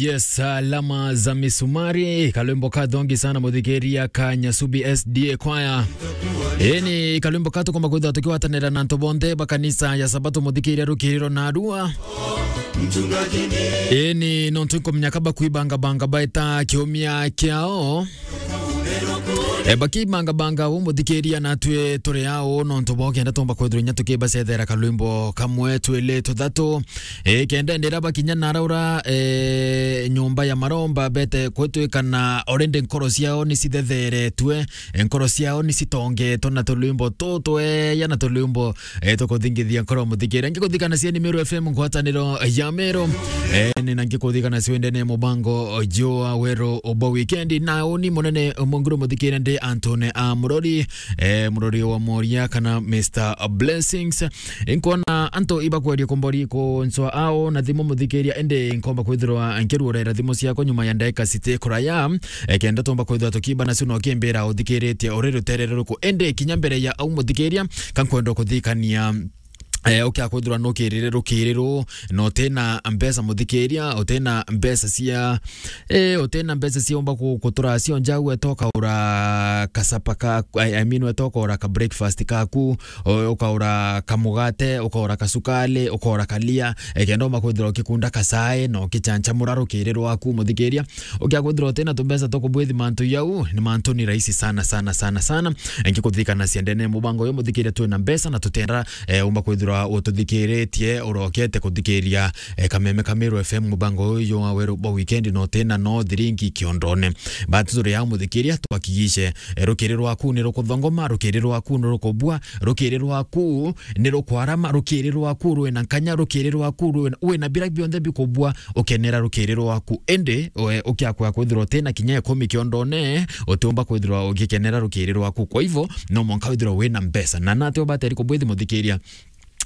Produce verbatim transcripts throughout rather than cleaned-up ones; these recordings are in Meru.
Yes, alama za misumari, kalwimbo kathongi sana muthikiria ka Nyasubi S D A Choir. Eni kalwimbo katukomba kwithirwa tukiwatanira na antu bonthe ba kanisa ya Sabato muthikiria rukiriro na arua. Eni nontu nkumenya kaba kwibangabanga baita kiumia kiao. E, bakibangabanga u muthikiria natwi turi au nontu bo kenda tumba kwithirwa inya tukibacethera kalwimbo kamwe twili tuthatu. E, kenda ndira bakinya naraura, e, nyumba ya maromba bete kwitwikana already nkoro ciao ni cithetheretwe, nkoro ciao ni citongetwe na tulwimbo tutweya na tulwimbo, e, tukuthingithia nkoro muthikiria. Ngikuthikana cia ni Meru F M ngwataniro ya Meru. E, ni na ngikuthikana cio ndene mubango jua weru obo weekend na uni munene munguru muthikiria ndi Antone a Murori, e, Murori wa Moria kana Mister Blessings. Inkwona antu ibakweria kumbori kunswa ao na thimu muthikiria, indi nkomba kwithirwa nkiruurera thimu ciakwa nyuma ya ndagika citi kuraya, e, kenda tumba kwithirwa tukiba nacio na ukimbira uthikiritie uri rutere ruriku. Indi kinya mbere ya au muthikiria, ka nkwenda kuthikania, e, ukia kwithirwa nukirire rukiriru, na utina mbeca muthikiria, utina mbeca cia, e, utina mbeca cia umba ku-, kutura cio njau, etoka ura kasapa ka, I, I mean, etoka ura ka breakfast kaku, o-, ukaura kamugate, ukaura kasukali, ukaura kalia, e, kenda umba kwithirwa ukikunda kasae, na ukichanjamura rukiri rwaku muthikiria. Ukia kwithirwa utina tumbeca twa kubwithi mantu jau, ni mantu ni rahisi sana, sana, sana, sana. Ngikuthikana cia ndene mubango uyu muthikiria twina mbeca na tutenda, e, umba kwithirwa ututhikiritie, urokete kuthikiria, e, kameme ka Meru F M mubango uyu wa weru bo weekend na utina no thiringi kiondone. But turi au muthikiria twakigishe, e, rukiri rwaku ni rukuthongoma, rukiri rwaku ni rukubua, rukiri rwaku ni rukwarama, rukiri rwaku rwina nkanya, rukiri rwaku rwina, wina bira bionthe bikubua, ukenera rukiri rwaku. Indi, we, ukiakwa kwithirwa utina kinya ikumi kiondone, utiumba kwithirwa ugikenera rukiri rwaku. Kwa hivyo, no mwanka withirwa wina mbeca. Na nati ubateri kubwithi muthikiria,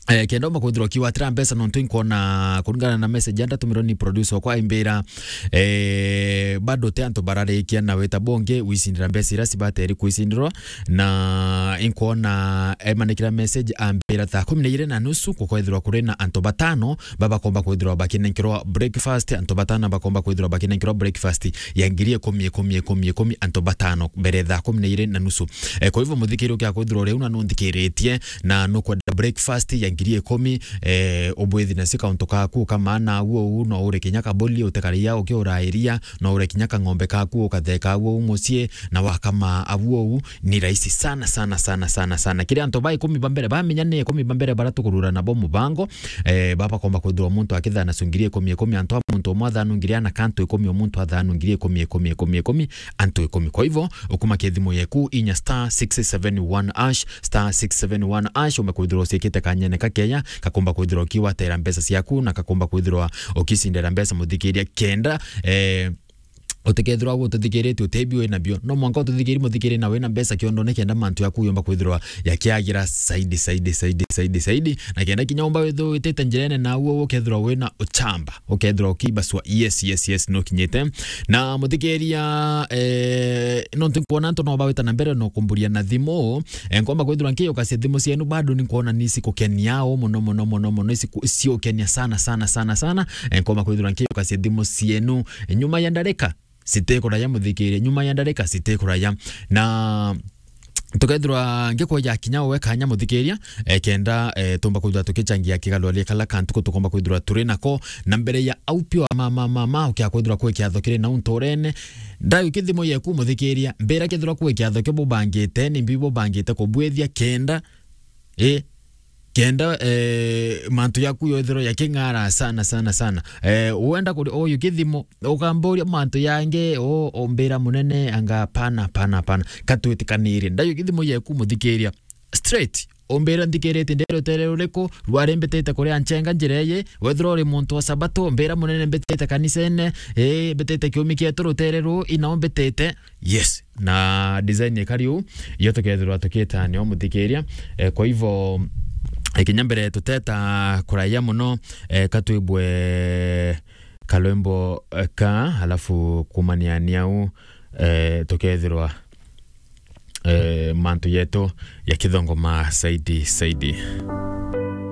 e, kenda umba kwithirwa ukiwatira mbeca, nontu inkwona kuringana na message ya ndatumirwa ni producer wakwa aimbira, e, bado te antu bararikia na wita bongi wisindira mbeca iria cibateri kwisindirwa, na inkwona emanikira message ambira thaa kumi na iri na nusu gukwethirwa kuri na antu batano babakomba kwithirwa bakinenkerwa breakfast, antu batano bakomba kwithirwa bakinenkerwa breakfast ya ngiri ikumi, ikumi, ikumi, ikumi, antu batano mbere thaa kumi na iri na nusu. E, kwa hivyo muthikiri ukia kwithirwa uri una nunthikiritie, na nukwenda breakfast ya ngiri ikumi, e, ubwithi na sika untu kaku kama na uo u, no ure kinya kaboli utekaria ukiurairia, no ure kinya kang'ombe kaku ukatheka uo u mucii, na wakama abu uo u ni rahisi sana, sana, sana, sana, sana. Kiri antu ba ikumi ba mbere, bamenya ni ikumi ba mbere bara tukurura nabo mubango, e, baba komba kwithirwa muntu akithana su ngiri ikumi, ikumi, antu a muntu umwe athanu ngiri ana, kantu ikumi o muntu athanu ngiri ikumi, ikumi, ikumi, ikumi, antu ikumi. Kwa hivyo, ukuma kithimu yeku inya star six seven one hash, star six seven one hash, umekwithirwa ucikite kanyene kakeya, kakomba kwithirwa ukiwatera mbeca ciaku, na kakomba kwithirwa ukicindera mbeca muthikiria kenda, e, utikethirwa ututhikiritie utebi wina bio. No mwanka ututhikiri muthikiri na wina mbeca kiondone kenda mantu yaku yomba kwithirwa yakiagira saidi, saidi, saidi, saidi, saidi. Na kenda kinya umba withirwa witite njirene na uo ukethirwa wina uchamba. Ukethirwa ukiiba swa. Yes, yes, yes, no kinyite. Na muthikiria, eh, no nti nkwona antu no bawita na mbere no kumburia na thimu. Eh, nkomba kwithirwa nkiyukacia thimu cienu bado ni nkwona ni cikukenia o muno, muno, muno, muno. Ni ciku-, ciukenia sana, sana, sana, sana. Eh, nkomba kwithirwa nkiyukacia thimu cienu. Nyuma ya ndarika, citikuraya muthikiria. Nyuma ya ndarika, citikuraya. Na tukethirwa ngikweja kinya we kanya muthikiria, eh, kenda, eh, tumba kwithirwa tukichangia kigalwaria kala kantu ko tukomba kwithirwa turi nako, na mbere ya au pio ma, ma, ma, ma, ukia kwithirwa kwi kiatho kiri nau nturene, ndayo kithimo yeku muthikiria, mbira kethirwa kwi kiatho kio bubangite, ni mbi bubangite kubwithia kenda, eh, kenda, eh, mantu yaku yothirwa yaking'ara sana, sana, sana. Eh, wenda kuri uyu kithimo, ukamburia mantu yangi, o, umbira munene, anga pana, pana, pana. Katwitikanire. Ndayo kithimo yeku muthikiria. Straight. Umbira nthikirite ndi rutere ruriku, rwari mbitite kuri anchenga njira iyi, wethirwa uri muntu wa Sabato, umbira munene mbitite kanisene, eh, mbitite kiumi kietu rutere ru, ina umbitite. Yes. Na design ikari uu, iyo tukethirwa tukitania umuthikiria. Eh, kwa hivyo, eh, kinya mbere tuteta kuraya muno, eh, katwibwe kalwimbo, eh, ka, alafu kumania ni au, eh, tukethirwa, eh, mantu yetu ya kithongoma saidi, saidi.